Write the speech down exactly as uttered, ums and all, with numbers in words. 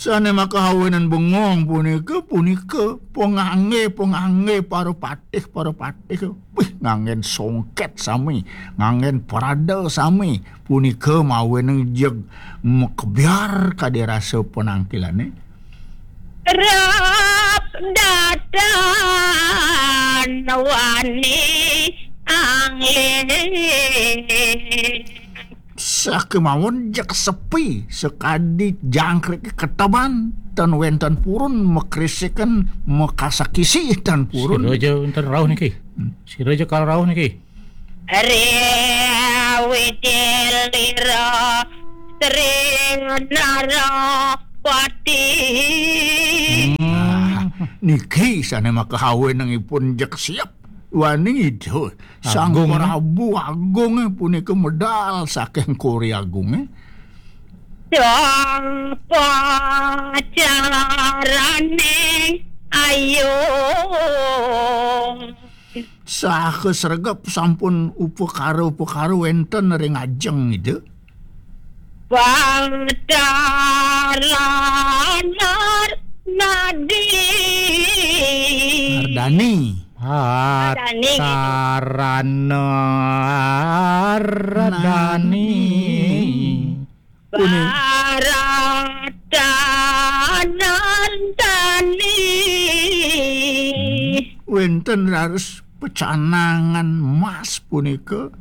Sané makahawénan bengong punika, punika pangangge-pangangge para patih, para patih. Wih, nganggén songket sami, nganggén parada sami. Punika mawénang jeg makebyar kadi rasa panangkilané. Rap datan wani angling. Sakémawon jeg sepi, sakadi jangkrik keteban, tan wénten purun makrisiken, makasakisi tan purun. Sira ja wénten rauh niki. Sira ja kal rauh niki. Riwidilira Sri Narapati. Hmm. Nah, niki sané makahawénang ipun jeg siap. Wani Ida Sang Agung. Prabu Agung punika medal saking Kori Agung. Sang pacaraning ayu. Saha sregep sampun upakara-upakara wénten ring ajeng Ida. Bataran Nadi. Nardani. Nardani. Bataran Nardani. Puni- Baratan Nardani. Wénten raris pecanangan emas punika.